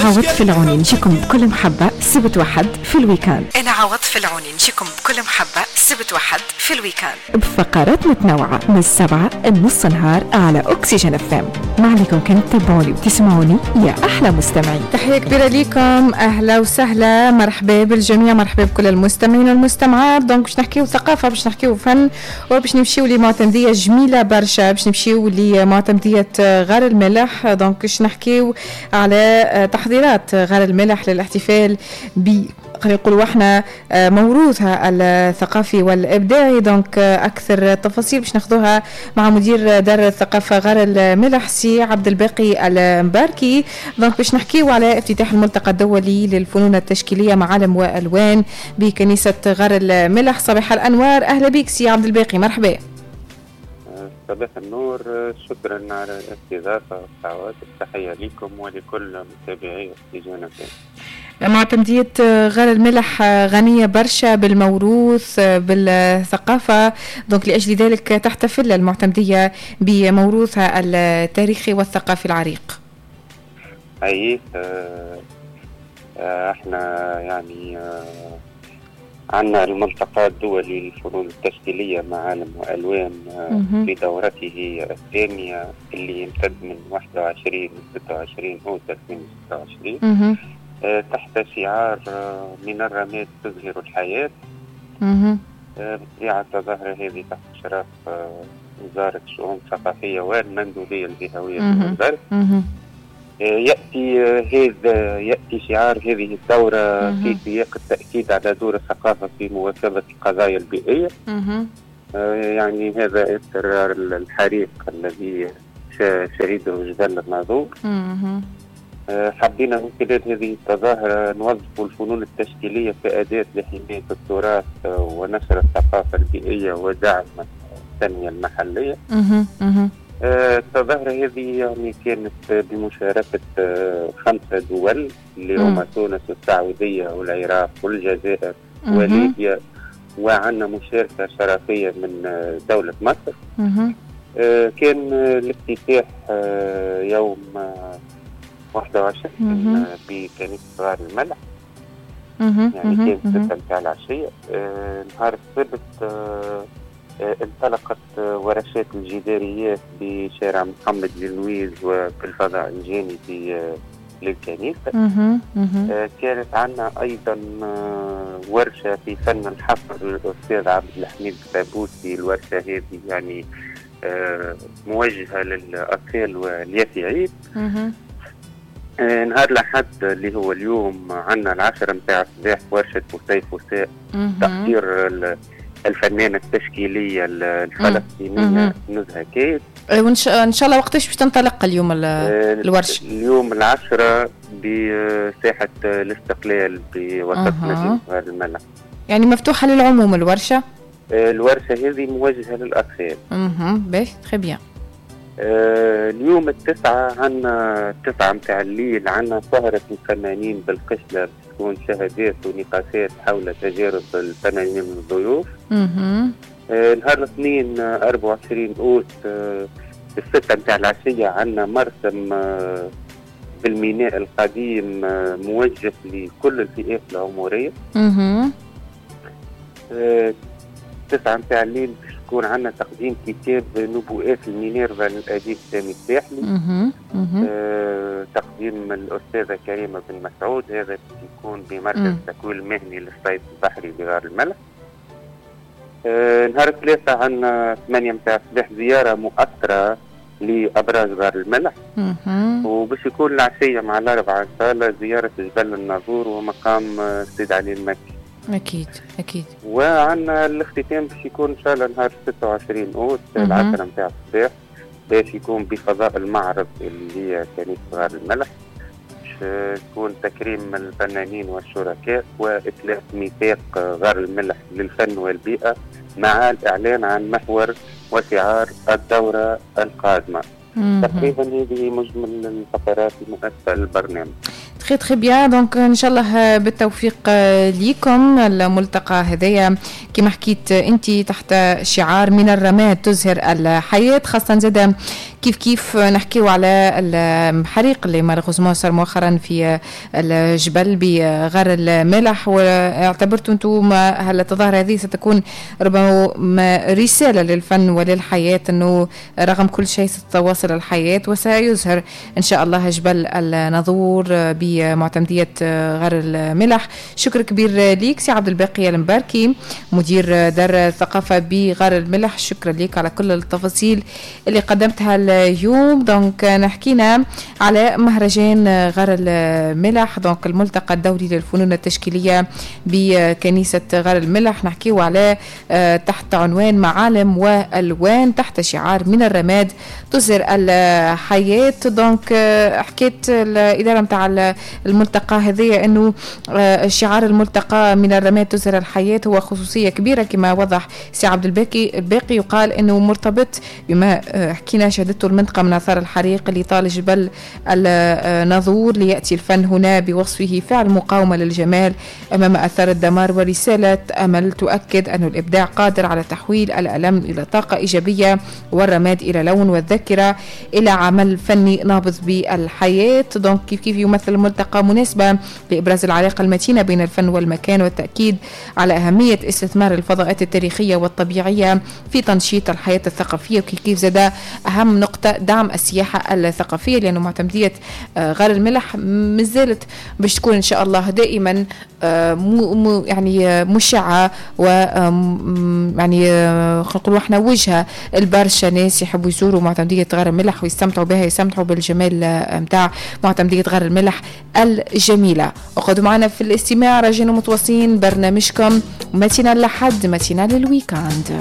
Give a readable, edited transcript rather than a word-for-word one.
عوضت في العوني نجيكم بكل محبة سبت وحد في ال week-end. أنا عوضت في العوني نجيكم بكل محبة سبت وحد في ال week-end بفقرات متنوعة من 7 لنص نهار على أكسجين FM. ما عليكم كان تتابعوني وتسمعوني يا أحلى مستمعين. تحية كبيرة لكم، أهلا وسهلا، مرحبا بالجميع، مرحبا بكل المستمعين والمستمعات. donc باش نحكيو ثقافة، باش نحكيو فن، وباش نمشيو لمعتمدية جميلة برشا، باش نمشيو لمعتمدية غار الملح. donc باش نحكيو على تحضيرات غار الملح للاحتفال ب خلينا نقولوا احنا موروثها الثقافي والابداعي. donc اكثر تفاصيل باش ناخذوها مع مدير دار الثقافة غار الملح سي عبد الباقي المباركي. donc باش نحكيو على افتتاح الملتقى الدولي للفنون التشكيليه معالم والوان بكنيسه غار الملح. صباح الانوار، اهلا بك سي عبد الباقي، مرحبا. صباح النور، شكرا على الاستضافة والدعوات، التحية لكم ولكل متابعي أكسجين. معتمدية غار الملح غنية برشا بالموروث بالثقافة، donc لأجل ذلك تحتفل المعتمدية بموروثها التاريخي والثقافي العريق. أي احنا يعني عندنا الملتقى الدولي للفنون التشكيلية معالم وألوان في دورته الثانية اللي يمتد من 21 ل 26 أوت 2026 تحت شعار من الرماد تزهر الحياة. بالطبيعة التظاهرة هذه تحت إشراف وزارة الشؤون الثقافية والمندوبية الجهوية في يأتي شعار هذه الدورة في سياق التأكيد على دور الثقافة في مواكبة القضايا البيئية. يعني هذا اضطرار الحريق الذي شهده جبل الناظور. حبينا من خلال هذه التظاهرة نوظف الفنون التشكيلية كأداة لحماية التراث ونشر الثقافة البيئية ودعم التنمية المحلية. التظاهرة هذه يعني كانت بمشاركة 5 دول اللي هما تونس والسعودية والعراق والجزائر وليبيا، وعندنا مشاركة شرفية من دولة مصر. كان الافتتاح يوم 21 بكنيسة غار الملح، يعني كانت 6 متاع العشية. نهار السبت انطلقت ورشات الجداريات بشارع محمد لنويز وبالفضاء الجانبي للكنيسة. كانت عندنا أيضا ورشة في فن الحفر للأستاذ عبد الحميد الثابوتي. الورشة هذه يعني موجهة للأطفال واليافعين. نهار الأحد اللي هو اليوم عندنا 10 متاع الصباح ورشة وسيف وساء تقدير الفنانة التشكيلية الفلسطينية نزهة كيد. وإن شاء الله وقتاش باش تنطلق اليوم الورشة؟ اليوم 10 بساحة الاستقلال بوسط مدينة غار الملح. يعني مفتوحة للعموم الورشة؟ الورشة هذه موجهة للأطفال. باهي، très bien. اليوم 9 عندنا 9 متاع الليل عندنا سهرة الفنانين بالقشلة، تكون شهادات ونقاشات حول تجارب الفنانين من الضيوف. نهار الاثنين 24 أوت 6 متاع العشية عندنا مرسم بالميناء القديم موجه لكل الفئات العمرية. 9 متاع الليل باش يكون عندنا تقديم كتاب نبوءات المينيرفا للأديب سامي الساحلي. تقديم الأستاذة كريمة بن مسعود، هذا يكون بمركز التكوين المهني للصيد البحري بغار الملح. نهار الثلاثاء عندنا 8 متاع الصباح زيارة مؤثرة لأبراج غار الملح. وباش يكون العشية مع 4 إن شاء الله زيارة جبل الناظور ومقام السيد علي المكي. أكيد أكيد. وعندنا الاختتام باش يكون إن شاء الله نهار 26 أوت 10 متاع الصباح، باش يكون بفضاء المعرض اللي هي كنيسة غار الملح، باش يكون تكريم الفنانين والشركاء وإطلاق ميثاق غار الملح للفن والبيئة مع الإعلان عن محور وشعار الدورة القادمة. تقريبا هذه مجمل الفقرات المؤسسة للبرنامج. très très bien. donc ان شاء الله بالتوفيق ليكم. الملتقى هذايا كما حكيت انت تحت شعار من الرماد تزهر الحياة، خاصة زاده كيف كيف نحكيو على الحريق اللي malheureusement صار مؤخرا في الجبل بغار الملح، واعتبرتوا انتم هل التظاهرة هذه ستكون ربما رسالة للفن وللحياة، انه رغم كل شيء ستتواصل الحياة وسيزهر ان شاء الله جبل الناظور بمعتمدية غار الملح. شكر كبير ليك سي عبد الباقي المباركي، مدير دار الثقافة بغار الملح، شكرا لك على كل التفاصيل اللي قدمتها اليوم. donc نحكينا على مهرجان غار الملح، donc الملتقى الدولي للفنون التشكيلية بكنيسة غار الملح، نحكيو على تحت عنوان معالم والوان تحت شعار من الرماد تزهر الحياة. donc حكيت الإدارة متاع الملتقى هذه أنه شعار الملتقى من الرماد تزهر الحياة هو خصوصية كبيرة كما وضح سي عبد الباقي، يقال أنه مرتبط بما حكينا شهدته المنطقة من آثار الحريق اللي طال جبل الناظور، ليأتي الفن هنا بوصفه فعل مقاومة للجمال أمام آثار الدمار ورسالة أمل تؤكد أن الإبداع قادر على تحويل الألم إلى طاقة إيجابية والرماد إلى لون والذاكرة إلى عمل فني نابض بالحياة. donc كيف كيف يمثل الملتقى مناسبة لإبراز العلاقة المتينة بين الفن والمكان والتأكيد على أهمية استثمار الفضاءات التاريخية والطبيعية في تنشيط الحياة الثقافية. وكيف كيف زاد أهم نقطة دعم السياحة الثقافية، لأنه معتمدية غار الملح مازالت باش تكون إن شاء الله دائما يعني مشعة و يعني نقولوا احنا وجهة البرشا ناس يحبوا يزوروا معتمدية غار الملح ويستمتعوا بها، يستمتعوا بالجمال متاع معتمدية غار الملح الجميلة. وقعدوا معنا في الاستماع راجعين متواصلين برنامجكم matinale لحد matinale ال week-end.